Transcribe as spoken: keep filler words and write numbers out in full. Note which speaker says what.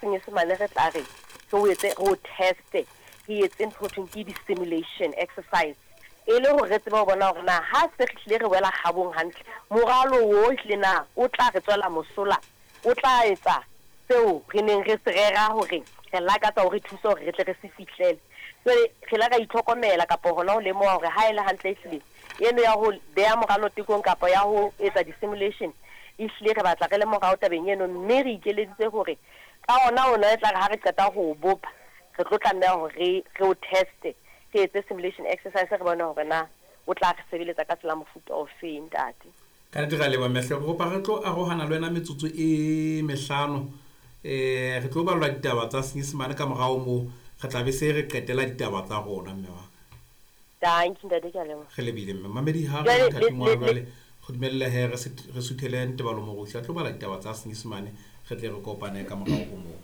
Speaker 1: Senyesemane re tla re re o etse, re o teste, re etse ntho ho thweng ke di-simulation exercise, e le hore re tsebe ho bona hore na ha se re hlile re wela kgabong hantle, moralo wo ehlile na o tla re tswela mosola, o tla etsa seo re neng re se rera hore re lakatsa hore thusa hore re tle re se fihlele. Jwale re la ra itlhokomela kapa hona ho lemoha hore ha e le hantle ehlile eno ya ho beha moralo tekong kapa ya ho etsa di-simulation, ehlile re batla re le morao tabeng eno, mme re ikeleditse hore ka ona ona e tla re ha re qeta ho o bopa, re tlo tlameha hore re re o teste, re etse simulation exercise, re bone hore na o tla re sebeletsa ka tsela mofuta ofeng, ntate.
Speaker 2: Ka nnete re a leboha mme. Re kopa re tlo arohana le wena metsotso e mehlano. um re tlo ballwa ditaba tsa Senyesemane, ka morao moo re tla be se re qetela ditaba tsa rona, mme wa ka.
Speaker 1: Dankie ntate, ke a leboha.
Speaker 2: Re lebile mme mamedi ha re
Speaker 1: Jwale, le-
Speaker 2: mothating wa
Speaker 1: le-
Speaker 2: jwale go dumelle he re sit- re suthele Ntebalo Moruši a tlo bala ditaba tsa Senyesemane, re tle re kopane ka morao ho moo.